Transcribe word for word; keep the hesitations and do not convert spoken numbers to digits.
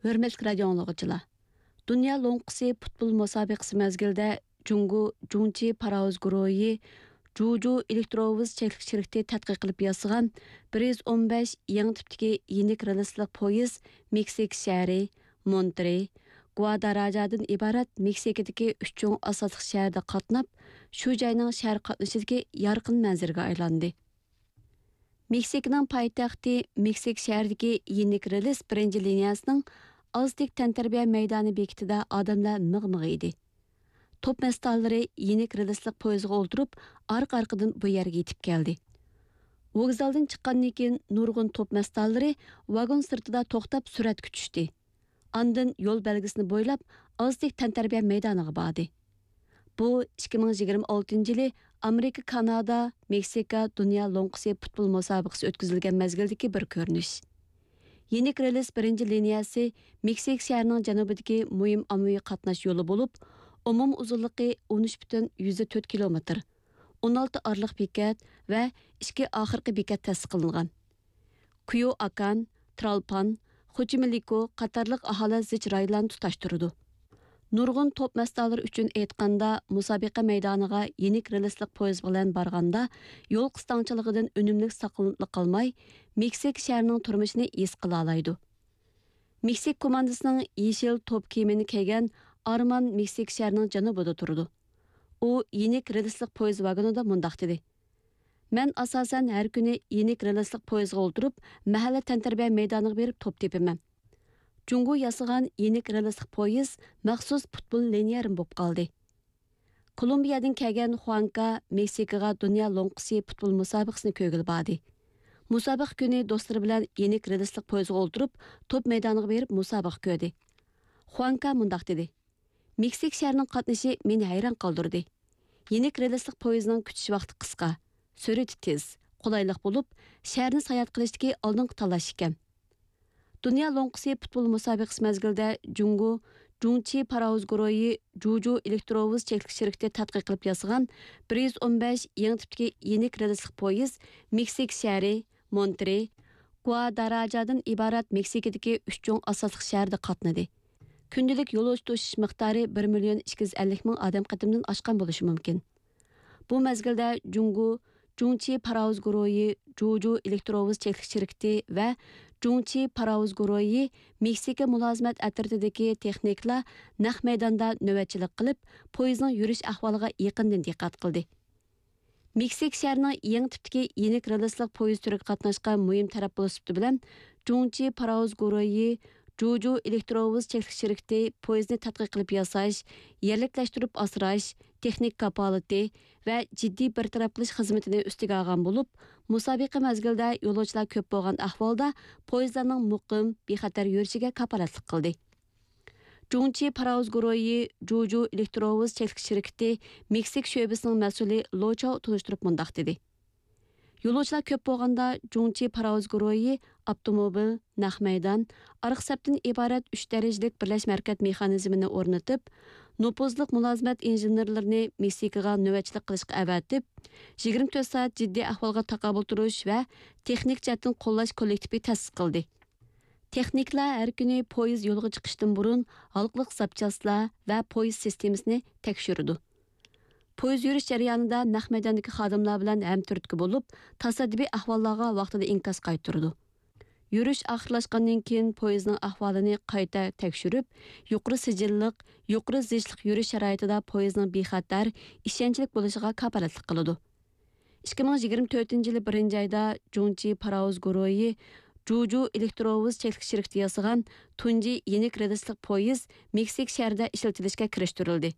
ھۆرمەتلىك رادىئو ئاڭلىغۇچىلار! دۇنيا لوڭقىسى پۇتبول مۇسابىقىسى مەزگىلىدە جۇڭگو جۇڭچى پاراۋۇز گۇرۇھى جۇجۇ ئېلېكتروۋوز چەكلىك شىركىتى تەتقىق قىلىپ ياسىغان بىر يۈز ئون بەش يېڭى تىپتىكى يېنىك رېلىسلىق پويىز مېكسىكا شەھىرى، مونترې، گۇاداراجادىن ئىبارەت مېكسىكىدىكى ئۈچ چوڭ ئاساسلىق شەھەردە قاتناپ، شۇ جاينىڭ شەھەر قاتنىشىدىكى يارقىن مەنزىرىگە ئايلاندى. مېكسىكىنىڭ پايتەختى مېكسىك شەھىرىدىكى يېنىك رېلىس بىرىنچى لىنىيەسىنىڭ ئازتېك تەنتەربىيە مەيدانى بېكىتىدە ئادەملەر مىغ-مىغ ئىدى. توپ مەستانىلىرى يېنىك رېلىسلىق پويىزغا ئولتۇرۇپ، ئارقا-ئارقىدىن بۇ يەرگە يېتىپ كەلدى. ۋوگزالدىن چىققاندىن كېيىن، نۇرغۇن توپ مەستانىلىرى ۋاگون سىرتىدا توختاپ سۈرەتكە چۈشتى. ئاندىن يول بەلگىسىنى بويلاپ، ئازتېك تەنتەربىيە مەيدانىغا باردى. بۇ ئىككى مىڭ يىگىرمە ئالتىنچى يىلى ئامېرىكا، كانادا، مېكسىكا دۇنيا لوڭقىسى پۇتبول مۇسابىقىسى ئۆتكۈزۈلگەن مەزگىلدىكى بىر كۆرۈنۈش. يېنىك رېلىس بىرىنچى لىنىيەسى مېكسىك شەھىرىنىڭ جەنۇبىدىكى مۇھىم ئاممىۋى قاتناش يولى بولۇپ، ئومۇم ئۇزۇنلۇقى ئون ئۈچ پۈتۈن يۈزدە تۆت كىلومېتىر، ئون ئالتە ئارىلىق بېكەت ۋە ئىككى ئاخىرقى بېكەت تەسىس قىلىنغان. كۇيوئاكان، ترالپان، خوچىمېلىكو قاتارلىق ئاھالە زىچ رايونلارنى تۇتاشتۇرىدۇ. نۇرغۇن توپ مەستانىلىرى ئۈچۈن ئېيتقاندا، مۇسابىقە مەيدانىغا يېنىك رېلىسلىق پويىز بىلەن بارغاندا، يول قىستاڭچىلىقىدىن ئۈنۈملۈك ساقلىنىپلا قالماي، مېكسىك شەھىرىنىڭ تۇرمۇشىنى ھېس قىلالايدۇ. مېكسىك كوماندىسىنىڭ يېشىل توپ كىيىمىنى كىيگەن ئارمان مېكسىك شەھىرىنىڭ جەنۇبىدا تۇرىدۇ. ئۇ يېنىك رېلىسلىق پويىز ۋاگونىدا مۇنداق دېدى: مەن ئاساسەن ھەر كۈنى يېنىك رېلىسلىق پويىزغا ئولتۇرۇپ، مەھەللە تەنتەربىيە مەيدانىغا بېرىپ توپ تېپىمەن. جۇڭگو ياسىغان يېنىك رېلىسلىق پويىز مەخسۇس پۇتبول لىنىيەرىم بولۇپ قالدى. كولومبىيەدىن كەلگەن خۇانكا مېكسىكىغا دۇنيا لوڭقىسى پۇتبول مۇسابىقىسىنى كۆرگىلى باردى. مۇسابىقە كۈنى دوستلىرى بىلەن يېنىك رېلىسلىق پويىزغا ئولتۇرۇپ، توپ مەيدانىغا بېرىپ مۇسابىقە كۆردى. خۇانكا مۇنداق دېدى: مېكسىك شەھىرىنىڭ قاتنىشى مېنى ھەيران قالدۇردى. يېنىك رېلىسلىق پويىزنىڭ كۈتۈش ۋاقتى قىسقا، سۈرئىتى تېز، قولايلىق بولۇپ، شەھەرنى ساياھەت قىلىشتىكى ئالدىنقى تاللاش ئىكەن. دۇنيا لوڭقىسى پۇتبول مۇسابىقىسى مەزگىلىدە جۇڭگو جۇڭچى پاراۋۇز گۇرۇھى جۇجۇ ئېلېكتروۋوز چەكلىك شىركىتى تەتقىق قىلىپ ياسىغان بىر يۈز ئون بەش يېڭى تىپتىكى يېنىك رېلىسلىق پويىز مېكسىك شەھىرى، مونترې، گۇاداراجادىن ئىبارەت مېكسىكىدىكى ئۈچ چوڭ ئاساسلىق شەھەردە قاتنىدى. كۈندىلىك يولۇچى توشۇش مىقدارى بىر مىليون ئىككى يۈز ئەللىك مىڭ ئادەم قېتىمدىن ئاشقان بولۇشى مۇمكىن. بۇ مەزگىلدە جۇڭگو جۇڭچى پاراۋۇز گۇرۇھى جۇجۇ ئېلېكتروۋوز چەكلىك شىركىتى ۋە جۇڭچى پاراۋۇز گۇرۇھى مېكسىكا مۇلازىمەت ئەترىتىدىكى تېخنىكلار نەق مەيداندا نۆۋەتچىلىك قىلىپ، پويىزنىڭ يۈرۈش ئەھۋالىغا يېقىندىن دىققەت قىلدى. مېكسىك شەھىرىنىڭ يېڭى تىپتىكى يېنىك رېلىسلىق پويىز تۈرىگە قاتناشقان مۇھىم تەرەپ بولۇش سۈپىتى بىلەن، جۇڭچى پاراۋۇز گۇرۇھى جۇجۇ ئېلېكتروۋوز چەكلىك شىركىتى پويىزنى تەتقىق قىلىپ ياساش، يەرلىكلەشتۈرۈپ ئاسراش، تېخنىك كاپالىتى ۋە جىددىي بىر تەرەپ قىلىش خىزمىتىنى ئۈستىگە ئالغان بولۇپ، مۇسابىقە مەزگىلىدە يولۇچىلار كۆپ بولغان ئەھۋالدا پويىزلارنىڭ مۇقىم، بىخەتەر يۈرۈشىگە كاپالەتلىك قىلدى. جۇڭچى پاراۋۇز گۇرۇھى جۇجۇ ئېلېكتروۋوز چەكلىك شىركىتى مېكسىك شۆبىسىنىڭ مەسئۇلى لو چاۋ تونۇشتۇرۇپ مۇنداق دېدى: يولۇچىلار كۆپ بولغاندا، جۇڭچى پاراۋۇز گۇرۇھى ئاپتوموبىل، نەق مەيدان، ئارقا سەپتىن ئىبارەت ئۈچ دەرىجىلىك بىرلەشمە ھەرىكەت مېخانىزمىنى ئورنىتىپ، نوپۇزلۇق مۇلازىمەت ئىنژېنېرلىرىنى مېكسىكىغا نۆۋەتچىلىك قىلىشقا ئەۋەتىپ، يىگىرمە تۆت سائەت جىددىي ئەھۋالغا تاقابىل تۇرۇش ۋە تېخنىك جەھەتتىن قوللاش كوللېكتىپى تەسىس قىلدى. تېخنىكلار ھەر كۈنى پويىز يولغا چىقىشتىن بۇرۇن ھالقىلىق زاپچاسلار ۋە پويىز سىستېمىسىنى تەكشۈرىدۇ. پويىز يۈرۈش جەريانىدا نەق مەيداندىكى خادىملار بىلەن ھەمتۈرتكە بولۇپ، تاسادىپىي ئەھۋاللارغا ۋاقتىدا ئىنكاس قايتۇرىدۇ. يۈرۈش ئاخىرلاشقاندىن كېيىن، پويىزنىڭ ئەھۋالىنى قايتا تەكشۈرۈپ، يۇقىرى سىجىللىق، يۇقىرى زىچلىق يۈرۈش شارائىتىدا پويىزنىڭ بىخەتەر، ئىشەنچلىك بولۇشىغا كاپالەتلىك قىلىدۇ. ئىككى مىڭ يىگىرمە تۆتىنچى يىلى بىرىنچى ئايدا جۇڭچى پاراۋۇز گۇرۇھى جۇجۇ ئېلېكتروۋوز چەكلىك شىركىتى ياسىغان تۇنجى يېنىك رېلىسلىق پويىز مېكسىك شەھىرىدە ئىشلىتىلىشكە كىرىشتۈرۈلدى.